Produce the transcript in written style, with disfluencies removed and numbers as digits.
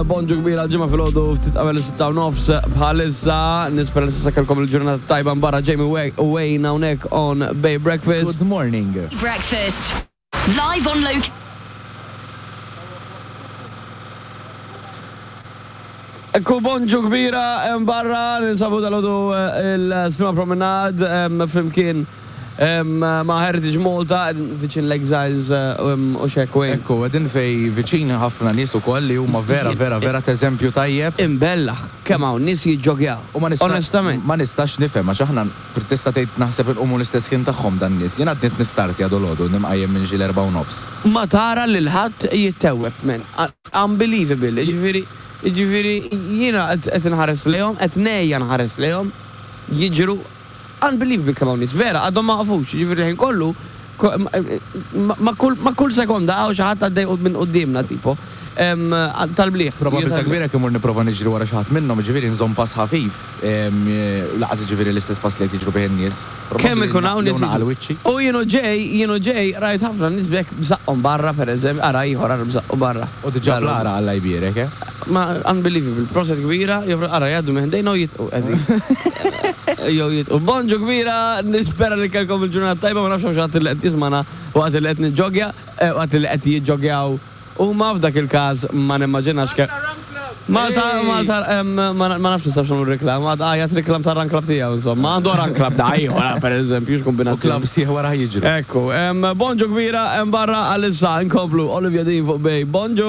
Bonġu kbira ġimgħa filgħodu ftit qabel is-sitta u nofs bħalissa. Nispera li s'issa kellkom il-ġurnata tajba barra Jamie u Wayne hawnhekk on Bay Breakfast. Good morning. Breakfast. Live on loc. Ekku bonġu kbira hemm barra ninsabu dalgħodu il-Sliema Promenade flimkien ma' Heritage Malta qegħdin viċin l-Exiles u x'hekk Wayne. Ekku, qegħdin fejn viċin ħafna nies ukoll li huma vera vera vera t'eżempju tajjeb. Imbellaħ kemm hawn nies jiġġogjaw. U ma nista' Onestament. Ma nistax nifhem għax aħna tista' tgħid naħseb inqumu l-istess ħin tagħhom dan-nies. Jien għadni qed nistartja dolodu, nimqajjem minn xi l-erbgħa u nofs. Ma tara lil ħadd jittewweb man. Unbelievable, jiġifieri jiġifieri jiena qed inħares lejhom, qed ngħejja nħares lejhom jiġru Unbelievable kemm hawn nies, vera, għadhom ma waqfux, jiġifieri l-ħin kollu ma' kull ma' kull sekonda hawn xi ħadd għaddej minn quddiemna tipo. Tal-bliħ. Probabbiltà kbira jekk immur nipprova niġri wara xi ħadd minnhom, jiġifieri nżomm pass ħafif, lanqas jiġifieri l-istess pass li qed jiġru bih in-nies. Kemm ikun hawn nies Jew naqal wiċċi. U jien u ġej, jien u ġej rajt ħafna nies b'hekk b'żaqqhom barra pereżempju, ara ieħor ara b'żaqqu barra. U diġà bl-għaraq Alla jbierek, eh. Ma unbelievable, proset kbira, jew ara jgħaddu minn ħdejna u jitqu qegħdin. Jew jitqu. Bonġu kbira, nispera li kellkom il-ġurnata tajba, ma nafx hawn xi ħadd li qed jismagħna waqt li qed niġġoggja, waqt li qed jiġġoggjaw huma, f'dak il-każ ma nimmaġinax kemm. Malta, Malta, ma nafx nistax nagħmlu reklam, għad għajat reklam tar-run club tiegħu insomma, għandu run club da ieħor pereżempju, x'kombinazzjoni. U club sħiħ warah jiġru. Ekku, bonġu kbira hemm barra għalissa nkomplu Olivia Dean fuq Bay. Bonġu!